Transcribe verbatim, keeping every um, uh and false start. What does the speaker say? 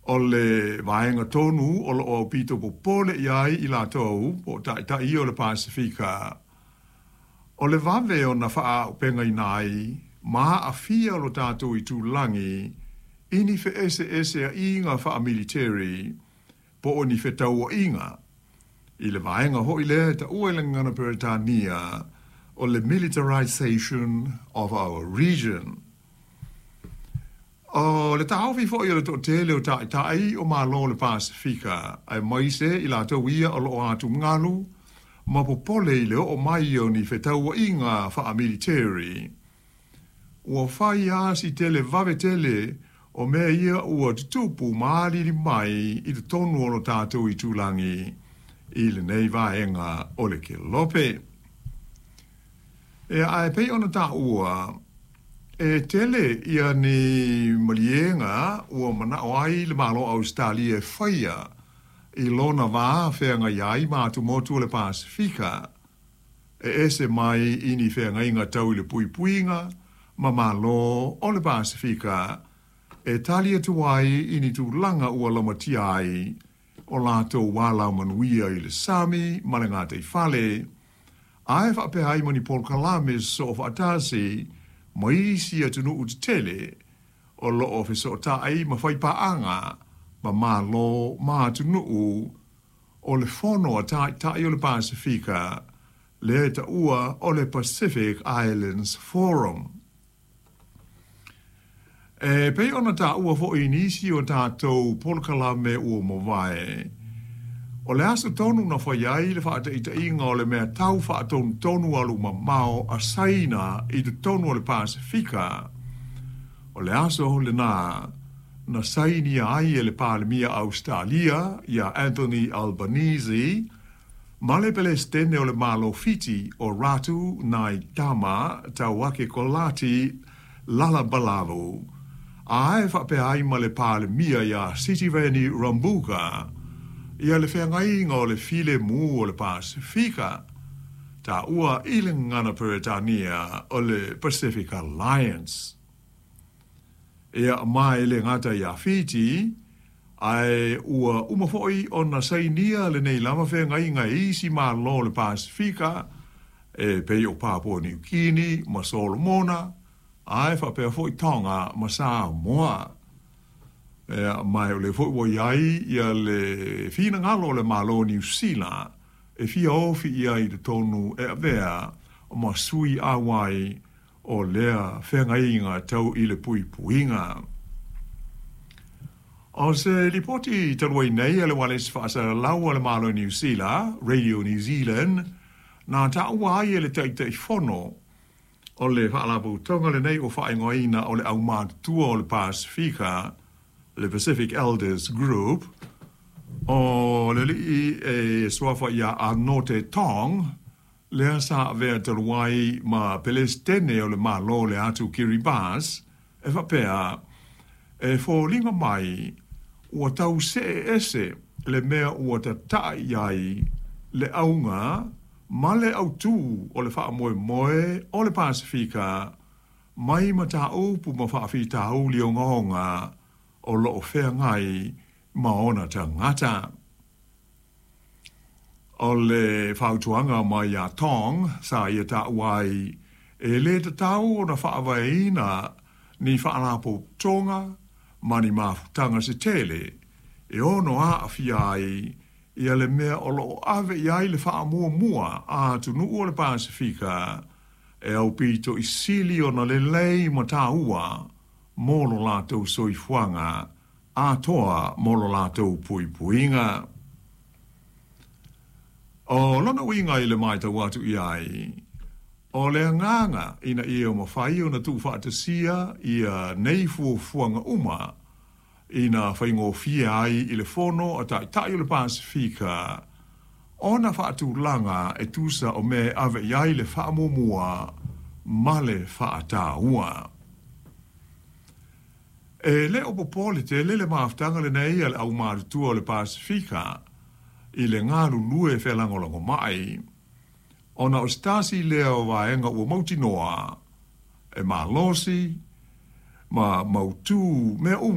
O le vaega tonu o loo aupito popole i ai i latou po o taitai ia o le Pasefika, o le vave ona faaauupegaina ai ma aafia lo tatou itulagi i ni feeseeseaiga faamiliteri po o ni fetauaiga i le vaega foi lea e taua i le gagana Peretania o le militarization of our region. O le taofi foi o le toatele o taitai o Malo o le Pasefika, aemaise i latou ia o loo atugalu ma popole i le oo mai o ni fetauaiga faamiliteri, ua fai lava si tele vave tele o mea ia ua tutupu ma alili mai i totonu o lo tatou itulagi i lenei vaega o le kelope. Ia, ae pei ona taua, e tele ia ni maliega ua manao ai le Malo o Ausetalia e faia i lona va feagai ai ma atumotu o le Pasefika, e ese mai i ni feagaiga tau i le puipuiga ma Malo o le Pasefika e tali atu ai i ni tulaga ua laumatia ai o latou alamanuia i le sami ma le gataifale, ae faapea ai ma ni polokalame sosoofaatasi ma isi atunuu tetele o loo fesootai ma faipaaga ma Malo ma atunuu o le Fono a Taitai o le Pasefika lea e taua o le Pacific Islands Forum. E pei ona taua foi i nisi o tatou polokalame ua mavae, o le aso tonu na fai ai le faataitaiga o le mea tau faatonutonu alumamao a Saina i totonu o le Pasefika, o le aso lena na sainia ai e le Palemia Ausetalia ia Anthony Albanese ma le Pelesitene o le Malo Fiti o Ratu Naitama Tauakekolati Lalabalavu, ae faapea ai ma le Palemia ia Sitiveni Rabuka ia le feagaiga o le filemu o le Pasefika, taua i le gagana Peretania o le Pacific Alliance. Ia, ma e le gata ia Fiti, ae ua uma foi ona sainia lenei lava feagaiga e isi Malo o le Pasefika e pei o Papua Niu Kini ma Solomona, ae faapea foi Tonga ma Samoa. Ia, ma o lea foi ua i ai ia le finagalo o le Malo o Niu Sila e fia ofi i ai i totonu e avea ma sui auai o lea feagaiga tau i le puipuiga. O se lipoti talu ai nei a le ualesi faasalalau a le Malo o Niu Sila, Radio New Zealand, na taua ai e le Taitaifono o le Faalapotopotoga lenei ua faaigoaina o le Aumatutua o le Pasefika, le Pacific Elders Group, o le alii e suafa ia Anote Tong, lea sa avea talu ai ma Pelesitene o le Malo o le atu Kiribati, e faapea, e foliga mai ua tau see ese le mea ua tatai i ai le auga ma le autū o le faamoemoe o le Pasefika mai mataupu ma faafitauli ogaoga o loo feagai ma ona tagata. O le fautuaga mai ia Tong sa ia taua ai e le tatau ona faavaeina ni faalapotopotoga ma ni mafutaga se tele e ono aafia ai ia le mea o loo ave i ai le faamuamua a atunuu o le Pasefika e aupito i sili ona lelei ma taua mo lo latou soifuaga atoa mo lo latou puipuiga. O lona uiga i le matau atu i ai, o le agaga ina ia mafai ona tuufaatasia ia nei fuafuaga uma ina faigofie ai i le Fono a Taitai o le Pasefika ona faatulaga e tusa o mea e ave i ai le faamuamua ma le faataua. E le o popole tele le mafutaga lenei a le Aumatutua o le Pasefika i le galulue felagolagomai, ona o se tasi lea o vaega ua mautinoa e malosi ma mautu mea uma.